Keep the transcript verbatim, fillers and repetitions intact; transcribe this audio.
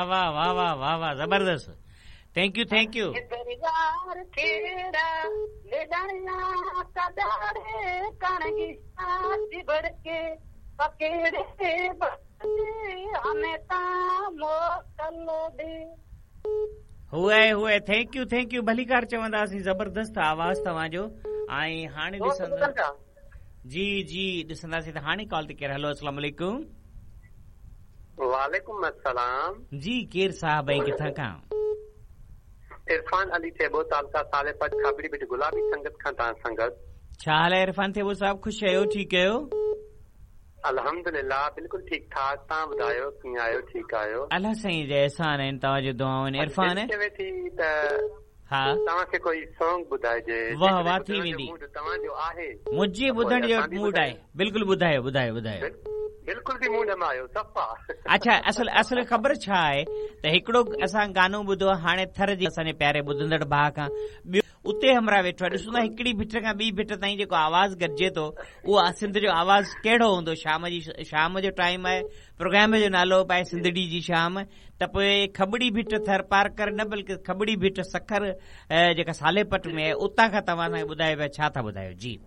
वाह वाह वाह वाह वाह वाह, ज़बरदस्त। Thank you thank you. हुए हुए, thank you thank you, भलीकार चवंदासीं। ज़बरदस्त आवाज़ तव्हांजो। ऐं हाणे ॾिसंदा जी जी ॾिसंदासीं त हाणे कॉल ते केरु। हलो, अस्सलाम वालेकुम। वालेकुम अस्सलाम। जी, केरु साहब ऐं किथां खां? इरफान अली थेबो, तालका सालेपट, खाबड़ी बिट, गुलाबी संगत खां तव्हां सां गॾु। छा हाल आहे इरफान थेबो साहब, ख़ुशि आहियो, ठीकु आहियो? अल्हम्दुलिल्लाह, बिल्कुलु ठीक ठाक। तव्हां ॿुधायो, कीअं आहियो, ठीकु आहियो? अलाह साईं जा एहसान आहिनि, तव्हांजो दुआऊं आहिनि। इरफान चवे थी त हा तव्हांखे कोई सॉन्ग ॿुधाइजे। वाह वाह थी वेंदी। तव्हांजो आहे, मुंहिंजे ॿुधण जो मूड आहे। बिल्कुलु ॿुधायो ॿुधायो ॿुधायो। बिल्कुलु बि मूड में आयो सफ़ा। अच्छा, असल असल ख़बर छा आहे त हिकिड़ो असां गानो ॿुधो हाणे थर जे असांजे प्यारे ॿुधंदड़ भाउ खां, ॿियो उते हमरा वेठो आहे। ॾिसो न, हिकिड़ी भिट खां ॿी भिट ताईं जेको आवाज़ गॾिजे थो, उहो सिंध जो आवाज़ कहिड़ो हूंदो? शाम जी शाम जो टाइम आहे, प्रोग्राम जो नालो बि आहे सिंधड़ी जी शाम, त पोइ खबड़ी भिट थर पारकर न बल्कि खबड़ी भिट सखर जेका सालेपट में आहे, उतां खां तव्हां असांखे ॿुधायो पिया, छा था ॿुधायो? जी